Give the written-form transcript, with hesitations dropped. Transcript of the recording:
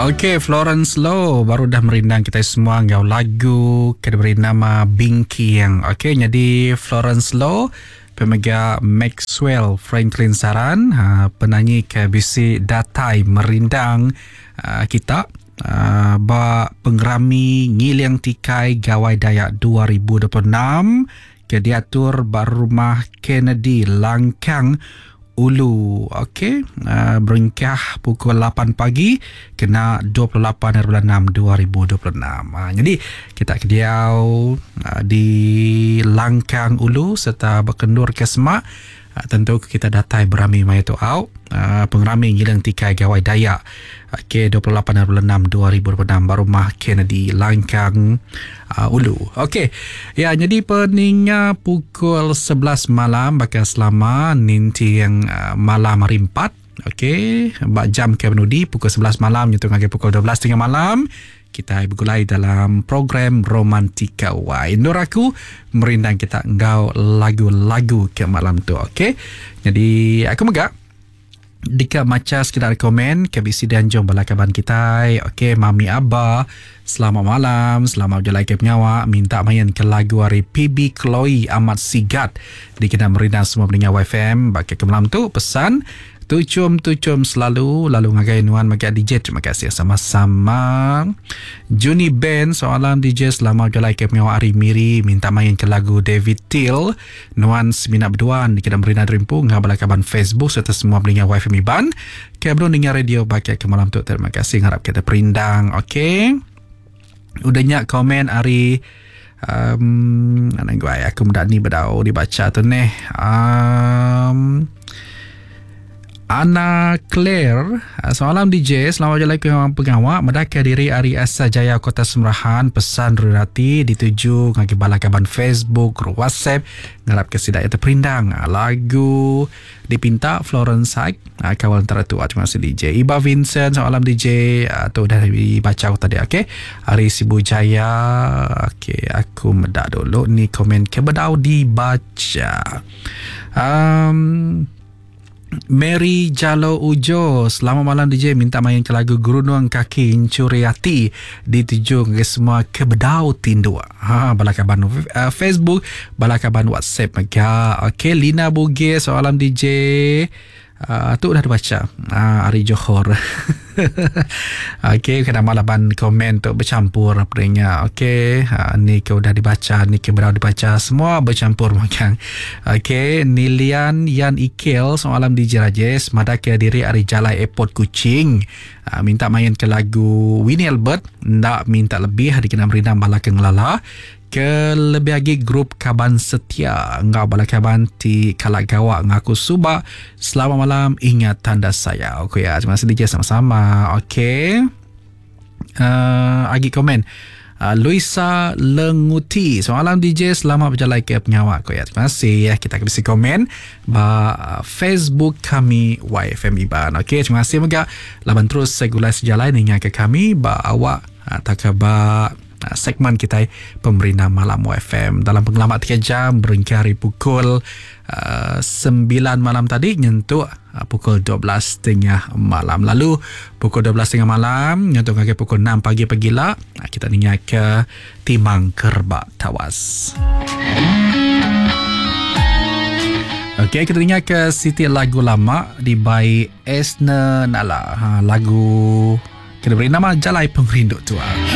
Okey, Florence Low baru dah merindang kita semua enggau lagu ke diberi nama Bingking. Okey, jadi Florence Low pemega Maxwell Franklin Saran ha, penanyi ke bisi datai merindang uh, kita uh, ba pengerami Ngiling Tikai Gawai Dayak 2026 ke diatur ba Rumah Kennedy Langkang Ulu. Okey, uh, berengkah pukul 8 pagi kena 28 hari bulan 6 2026. Uh, jadi kita ke diau uh, di Langkang Ulu serta berkendur ke semak uh, tentu kita datai berami maya tu au uh, pengerami ngiling tikai Gawai Dayak. Okey, 28 hari bulan 6 2026 ba Rumah Kennedy Langkang uh, Ulu. Okey. Ya, jadi peninga pukul 11 malam baka selama ninting uh, malam hari 4. Okey, ba jam ke penudi pukul 11 malam nyentuk ngagai pukul 12.30 malam kita begulai dalam program Romantika Wai. Endur aku merindang kita enggau lagu-lagu ke malam tu. Okey. Jadi aku mega Deka macha sekeda ari komen ke bisi dianjung bala kaban kitai. Ok mami aba selamat malam selamat bejalai ke pengawa minta main ke lagu ari PB Chloe amat sigat dikena merindang semua peninga YFM ba ke malam tu pesan tuchum-tuchum selalu lalu ngagai nuan mega DJ terima kasih sama-sama. Juni Ben soalan DJ selamat bejalai ke pengawa ari Miri minta main ke lagu David Till Nuan semina beduan dikena meri nadri empu enggau bala kaban Facebook serta semua peninga YFM Iban ke benung ninga radio ba ke malam tu. Terima kasih ngarap kita perindang. Okey. Udah nya komen ari um, anang guai aku meda ni bedau dibaca tu neh. Um, Anna Claire, Selamat malam DJ, selamat berjalai ke pengawa medaka diri ari Asa Jaya Kota Semerahan, pesan Rurati dituju ngagai bala kaban Facebook, group WhatsApp, ngarap ke sida iya terperindang lagu dipinta Florence Haik, kawal entara tua. Terima kasih DJ. Iba Vincent, selamat malam DJ, tu udah dibaca aku tadi okey. Ari Sibu Jaya, okey aku meda dulu ni komen ke bedau dibaca. Um, Mary Jalo Ujo, selamat malam DJ, minta main ke lagu Gerunung Kaki Encuri Ati dituju ngagai semua ke bedau tinduk. Ha, bala kaban uh, Facebook, bala kaban WhatsApp mega. Okey, Lina Bugis, selamat malam DJ. Uh, tu udah dibaca uh, ari Johor. Okey, kena malaban komen tu bercampur apa nya. Okey, uh, ni ke udah dibaca, ni ke berau dibaca, semua bercampur makan. Okey, Nilian Yan Ikel, selamat malam DJ Rajesh, madah ke diri ari Jalai Airport Kuching. Uh, minta main ke lagu Winnie Albert, nda minta lebih dikena merindang bala ke ngelala. Ke lebih agi grup kaban setia enggau bala kaban ti kala gawa ngaku suba. Selamat malam ingat tanda sayau. Ku ya, terima kasih DJ sama-sama. Okey. Uh, agi komen. Uh, Luisa Lenguti. Selamat malam DJ, selamat berjalai ke pengawa ku ya. Terima kasih ya. Kita akan bisi komen ba uh, Facebook kami YFM Iban. Okey, terima kasih mega laban terus segulai sejalai ninga ke kami ba awak tauka ba segmen kitai Pemerindang Malam YFM dalam pengelama 3 jam berengkah ari pukul uh, 9 malam tadi nyentuk uh, pukul 12.30 malam. Lalu pukul 12.30 malam nyentuk ngagai pukul 6 pagi pagila uh, kita ninga ke Timang Kerbak Tawas. Okey, kita dengar ke siti lagu lama dibai Esner Nala. Ha, lagu kena beri nama Jalai Pengerindu Tua.